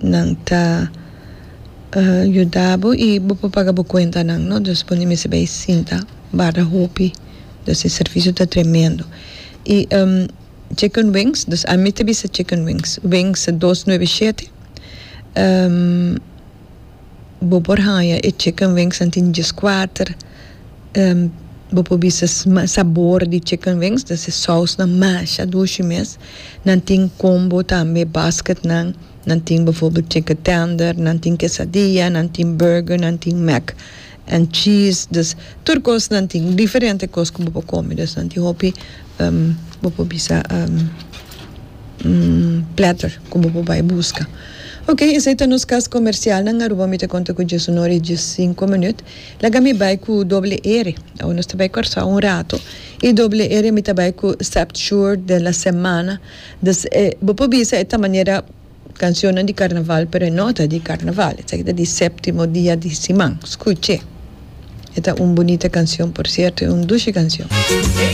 Nan ta yuda bo y bo por paga bo cuentanan no dus bo no mester bay sinta barda hopi dus e servicio ta tremendo y chicken wings dus ami ta bisa chicken wings wings 297 bo por haya e chicken wings nan tin 14 bo por bisa sabor di chicken wings dus e sausnan masha dushi mes nan tin combo tambe basketnan. Nan tin bijvoorbeeld chicken tender, nan tin quesadilla, nan tin burger, nan tin mac and cheese. Dus tur kos nan tin, diferente kos ku bo por kome. Dus nan tin hopi bo por bisa platter ku bo por bai buska. Ok, esei ta nos kas komersialnan. Aruba mi ta konta ku 11 i 15 minüt. Laga mi bai ku doble ere. Awe nos ta bai Kòrsou un rato. I doble ere mi ta bai ku Septsure de la semana. Dus e bo por bisa e ta manera cancionnan di carnaval pero e no ta di carnaval esaki ta di septimo dia di siman scuche e ta un bunita cancion por cierto e un dushi cancion.